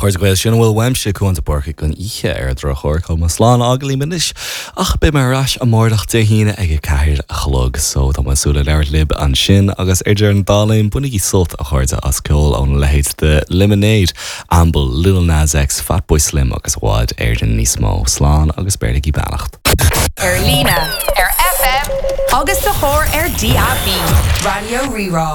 Chairde Gael, sin a bhfuil uaimse, Cuán de Búrca, don oíche ar an drochuair. Tá mé slán a fhágáil libh anois ach beidh mé ar ais amárach Dé hAoine ag 4 a chlog so tá mé ag súil le labhairt libh ansin agus ar deireadh na dála bainigí sult a chairde as ceol óna leithéid de Lemonade, Amble, Lil Nas X, Fatboy Slim agus i bhfad Éireann níos mó. Slán agus beirigí beannacht. Ar líne, ar FM agus sa charr ar DAB. Raidió Rí-Rá.